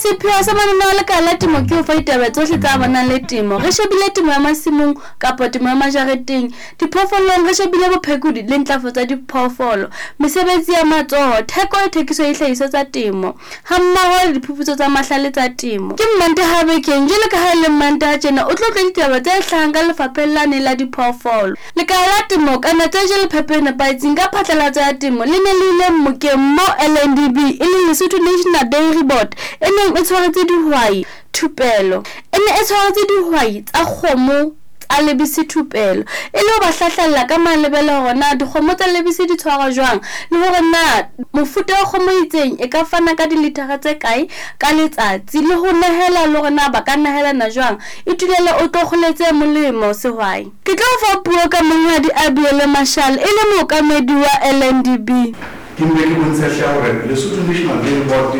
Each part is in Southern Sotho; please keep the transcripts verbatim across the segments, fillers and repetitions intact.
Sepheo sa mananeo a lekala la temo ke ho fa ditaba tsohle tsa amanang le temo. Re shebile temo ya masimong kapa temo ya majareteng. Diphoofolong re shebile bophekodi le ntlafatso ya diphoofolo, mesebetsi ya matsoho, theko le thekiso ya dihlahiswa tsa temo, hammoho le diphuputso tsa mahlale tsa temo. Ke Mmantaha bekeng, jwalo ka ha e le Mmantaha tjena o tlo utlwa ditaba tse hlahang ka lefapheng lane la diphoofolo. Lekala la temo ka tse jele phepo e nepahetseng ka phatlalatso ya temo le ne le ile mmokeng mo L N D B e leng Lesotho National Dairy Board e neng e tshwaretse dihwai thupelo. E ne e tshwaretse dihwai tsa kgomo tsa lebese thupelo e le ho ba hlahlella ka malebela hore na dikgomo tsa lebese di tshwarwa jwang le hore na mofuta wa kgomo e itseng e ka fana ka dilithara tse kae ka letsatsi le ho nehela le hore na ba ka nehelana jwang. Itulele o tlo kgoletse molemo sehwai. Ke tlo fa puo ka monghadi Abiele Mashal e le mookamedi wa L N D B. Ke mpe ke bontshe hle hore Lesotho National Dairy Board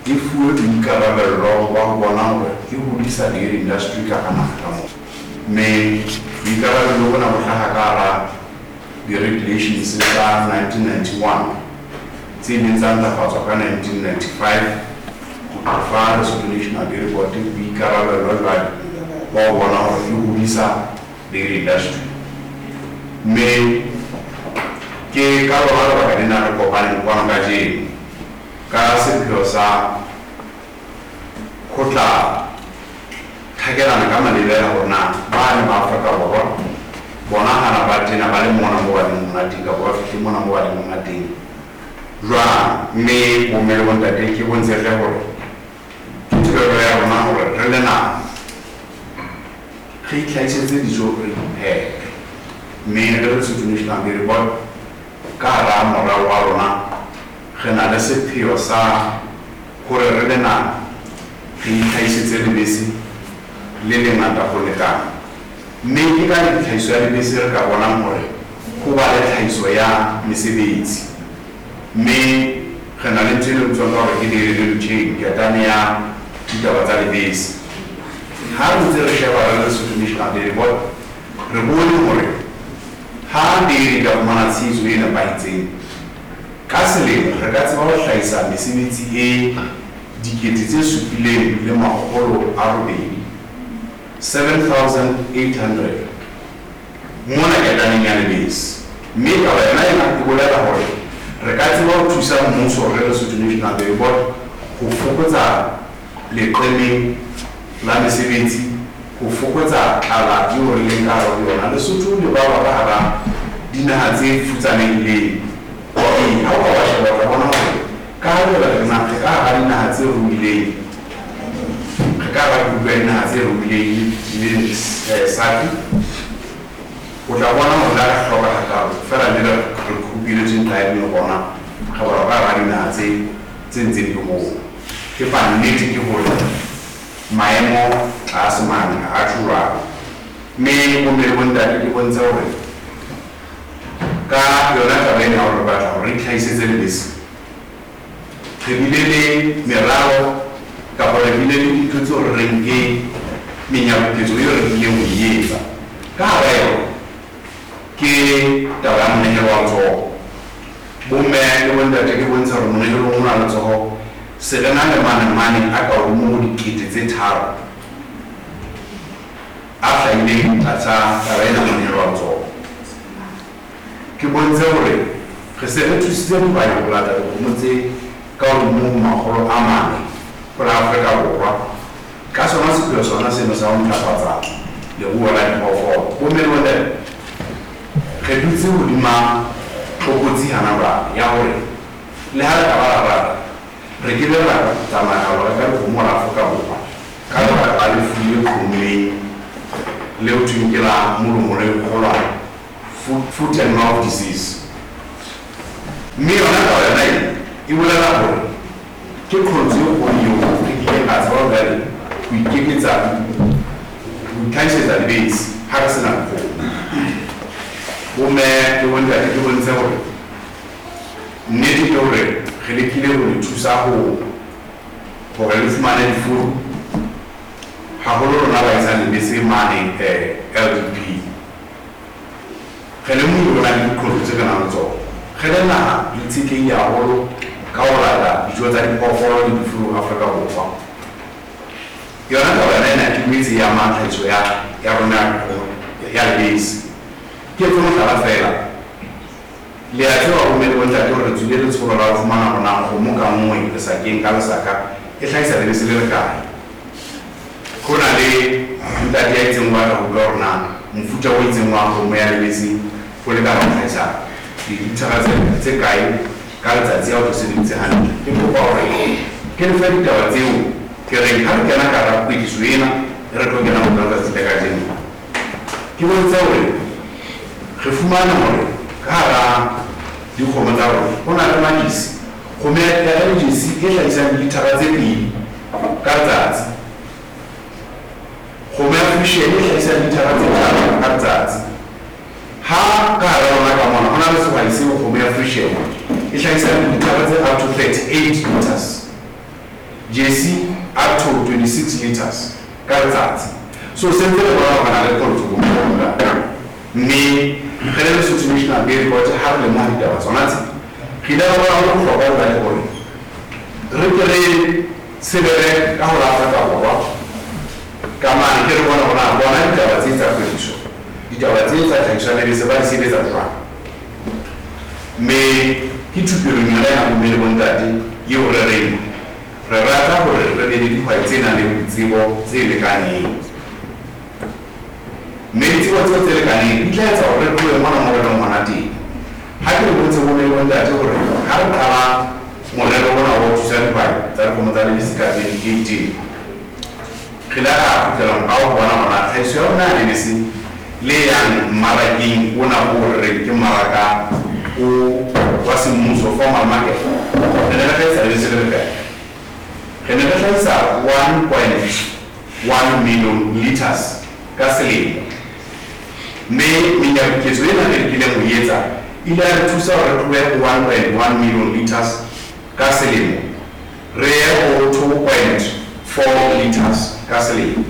e fuwe boikarabello ba ho bona hore e hodisa dairy industry ka hara naha ka mona. Mme boikarabello bona bo hlaha ka hara di-regulations tsa nineteen ninety-one tse ileng tsa ntlafatswa ka nineteen ninety-five ho fa Lesotho National Dairy Board boikarabello jwale ba ho bona hore e hodisa dairy industry. Mme ke ka lona lebaka lena re kopaneng kwano kajeno ka sepheo sa ho tla thakelana ka malebela hore na bane ba Afrika Borwa bona hana ba tena ba le mona mo ba leng mona teng kapa ba fihle mona mo ba leng mona teng jwang. Mme bomme le bontate ke bontshe hle hore ke tebello ya rona hore re le naha re itlhahisetse dijo re iphepe. Mme re le Lesotho National Dairy Board ka hara moralo wa rona re na le sepheo sa hore re le naha re itlhahisetse lebese le lengata ho lekana. Mme ke ka tlhahiso ya lebese re ka bonang hore ho ba le tlhahiso ya mesebetsi. Mme re na le ntho e le bitswang ka hore ke dairy value chain, ketane ya ditaba tsa lebese. Ha re ntse re sheba re le Lesotho National Dairy Board re bone hore ha dairy ka fumana tshehetso e nepahetseng ka selemo re ka tseba ho hlahisa mesebetsi e dikete tse supileng le makgolo a robedi, seven thousand eight hundred mona ketaneng ya lebese. Mme taba yona ena e bolela hore re ka tseba ho thusa mmuso re le Lesotho National Dairy Board ho fokotsa leqeme la mesebetsi, ho fokotsa tlala eo re leng ka hare ho yona. Lesotho le balwa ka hara dinaha tse futsanehileng. Ee, ha o ka wa sheba o tla bona hore ka ha jwale re na re ka hara dinaha tse ruileng, re ka hara group ya dinaha tse ruileng le S A D C, o tla bona hore le ha re hloka hakalo feela le re group-iletswe ntlha e le rona re balwa ka hara dinaha tse tse ntseng di hola. Empa nnete ke hore maemo tlase mane ha a tjho jwalo. Mme bomme le bontate ke bontshe hore ka yona taba ena ya hore re batla hore re itlhahisetse lebese, re bile le meralo kapa re bile le dintho tseo re reng ke menyabuketso eo re tlileng ho e etsa. Ka hara yona ke taba ya monehelo wa letsoho. Bomme le bontate ke bontsha hore monehelong ona wa letsoho se re na le manemane a ka hodimo ho dikete tse tharo a hlahileng tlasa taba ena monehelo wa letsoho. Ke bontshe hore re se re thusitse dihwai ho lata dikgomo tse ka hodimo ho makgolo a mane ho la Afrika Borwa ka sona sepheo sona seno sa ho ntlafatsa leruo la diphoofolo. Bomme le bontate re dutse hodima tlokotsi hana jwale ya hore le ha re ka ba ra rata re ke be ra tsamaya ho reka dikgomo la Afrika Borwa ka lebaka la lefu le qhomileng leo thweng ke la molomo le kgolwane, foot and mouth disease. Mme yona taba yona e e bolela hore ke qholotso e kgolo eo re kileng ra tseba jwale ho ikeketsa ho itlhahisetsa lebese ha re sena dikgomo. Bomme le bontate ke bontshe hore nnete ke hore re lekile ho le thusa ho hore le fumane difuru haholo rona ba isang lebese mane L D P. Re lemohile hore ho na le diqholotso tse ka nang le tsona. Re le naha re itshetlehile haholo ka ho lata dijo tsa diphoofolo le difuru Afrika Borwa. Yona taba yona ena ke boetse e ama tlhahiso ya ya rona ya lebese. Ke etse mohlala feela, le a tseba bomme le bontate hore re tswile letsholo la ho fumana hore na kgomo ka nngwe lesakeng ka lesaka e hlahisa lebese le lekae. Ho na le ntate ya itseng o batla ho utlwa hore na mofuta o itseng wa kgomo ya lebese o lekana ho hlahisa dilithara tse tse kae ka letsatsi ha o sebeditse hantle. Ke kopa hore ke le fe ditaba tseo ke reng ha re kena ka hara kwetliso ena e re tlo kena ho yona letsatsi la kajeno. Ke bontshe hore re fumane hore ka hara dikgomo tsa rona ho na le majesi, kgomo ya lejesi e hlahisang dilithara tse pedi ka letsatsi, kgomo ya Friesian e hlahisang dilithara tse tharo ka letsatsi. Ha ka hara rona ka mona ho na le sehwai seo kgomo ya Friesian e hlahisang dilithara tse up to thirty-eight liters, Jersey up to twenty-six liters ka letsatsi. So se ntse re bona hore na le qholotso bo mme re le Lesotho National Dairy Board ha re lemoha ditaba tsona tse, re ile ra bona ho le bohlokwa jwale hore re ke re sebele ka ho la Afrika Borwa ka mane ke re bona hore na bona ditaba tse tsa kwetliso, ditaba tse tsa tlhahiso ya lebese ba di sebetsa jwang. Mme ke thupelong yona ya bomme le bontate eo re reng re rata hore re be le dihwai tse nang le ditsebo tse lekaneng. Mme ditsebo tseo tse lekaneng di tla etsa hore re tlohe mona mo re leng hona teng. Ha ke le botse bomme le bontate hore ha re qala morero ona wa ho thusa dihwai tsa dikgomo tsa lebese ka twenty eighteen, re ile ra kgutlela morao ho bona hore na tlhahiso ya rona ya lebese le yang mmarakeng ona o re reng ke mmaraka o wa semmuso, formal market, re ne re hlahisa lebese le lekae? Re ne re hlahisa one point one million liters ka selemo. Mme menyabuketso ena re lekileng ho e etsa ile ya re thusa hore re tlohe ho one point one million liters ka selemo re ye ho two point four liters ka selemo.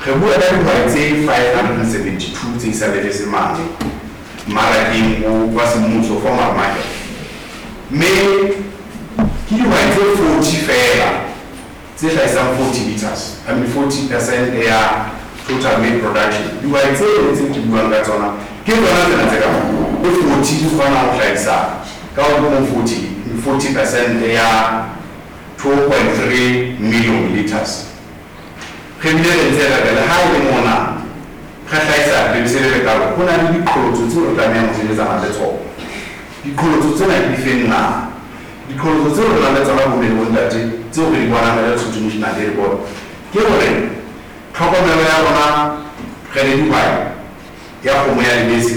Re bua ka dihwai tse five hundred and seventy-two tse isang lebese mane mmarakeng o wa semmuso, formal market. Mme ke dihwai tse forty feela tse hlahisang forty liters, I mean forty percent ya total milk production. Dihwai tse tse ke buang ka tsona ke tsona tsena tse ka mo forty di kgona ho hlahisa ka hodimo forty, forty percent ya two point three million liters. Re bile re ntse re re le ha e le mona re hlahisa lebese le lekalo, ho na le diqholotso tseo re tlamehang ho sebetsana le tsona. Diqholotso tsena ke difeng na? Diqholotso tseo re nang le tsona bomme le bontate tseo re di bonang re le Lesotho National Dairy Board ke hore tlhokomelo ya rona re le dihwai ya kgomo ya lebese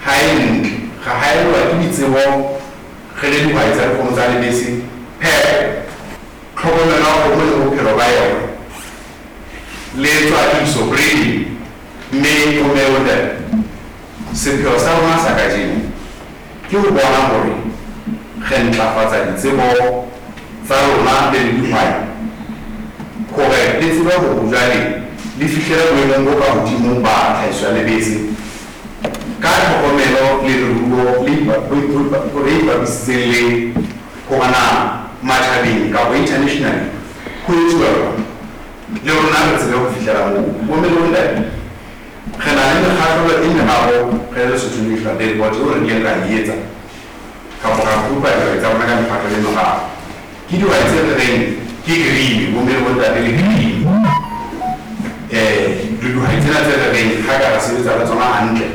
ha e ntle. Re haellwa ke ditsebo re le dihwai tsa dikgomo tsa lebese, phepo, tlhokomelo ya kgomo le bophelo ba yona, le tswadiso, breeding. Mme bomme le bontate, sepheo sa rona sa kajeno ke ho bona hore re ntlafatsa ditsebo tsa rona le dihwai hore le tsebe hore jwale le fihlele boemong bo ka hodimo ba tlhahiso ya lebese ka tlhokomelo le leruo le ipapisitseng le hore na matjhabeng kapa internationally ho etsuwa jwang, le rona re tsebe ho fihlela moo. Bomme le bontate, re na le mekgahlelo e meraro re le Lesotho National Dairy Board eo re kileng ra e etsa kapa ra kopa ditaba tsa rona ka mekgahlelo e meraro. Ke dihwai tse re reng ke green, bomme le bontate le green. Eh, dihwai tsena tse re reng ha ka ra sebetsa le tsona hantle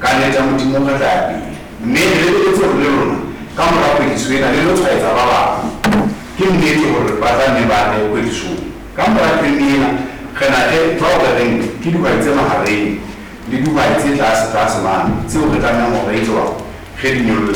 ka nnete ya Modimo re tla ya pele. Mme re lebeletse hore le rona ka mora kwetliso ena le lo tshwaetsa ba bang. Ke nnete hore ba tla nne ba tle kwetlisong. Ka mora training ena re na le bao re reng ke dihwai tse mahareng le dihwai tse tlase tlase mane tseo re tlamehang hore re etse jwang, re di nyolle.